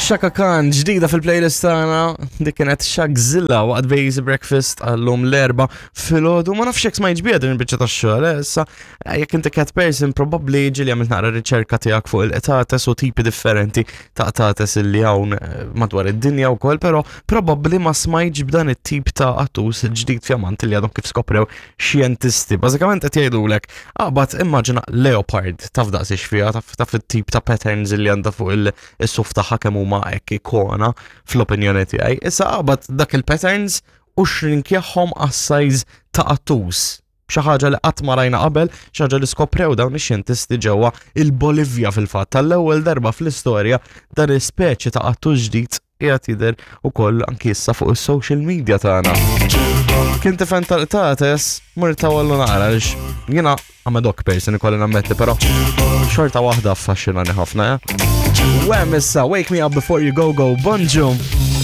Shaka Khan ġdida fil-playlist tagħna dik kienet Shagzilla waqt Base Breakfast għallum l-erba filgħodu ma nafx jekk smajtx biha din il-biċċa tax-xogħol eh, issa eh, jekk inti cat person probabbli ġieli għamilt naqra riċerka tiegħek fuq il-qtates u tipi differenti ta' qtates illi hawn eh, madwar id-dinja wkoll, però probabbli ma smajtx b'dan it-tip ta' qattus ġdid fjamant li għadhom kif skoprew xjentisti. Bażikament qed jgħidulek aqbad immaġina leopard taf daqs fiha taf taf it-tip ta' patterns li għandha fuq il-suf tagħha kemm huma hekk ikona fl-opinjoni tiegħi. Issa aqbad dak il-patterns u xrinkjaħħom għas-size ta' qattus. Xi ħaġa li qatt ma rajna qabel, xi ħaġa li skoprew dawn ix-xjentisti ġewwa il-Bolivja fil-fatt tal-ewwel darba fl-istorja dan is-speċi ta' qattus ġdid qiegħed jidher ukoll anki issa fuq is-social media tagħna. Kien tifhem tal-qtates, mur tawallu naqra għaliex jiena I'm a dog person ikolli nammetti, però xorta waħda affaxxinani ħafna, eh? Wem issa, wake me up before you go go, bonġu!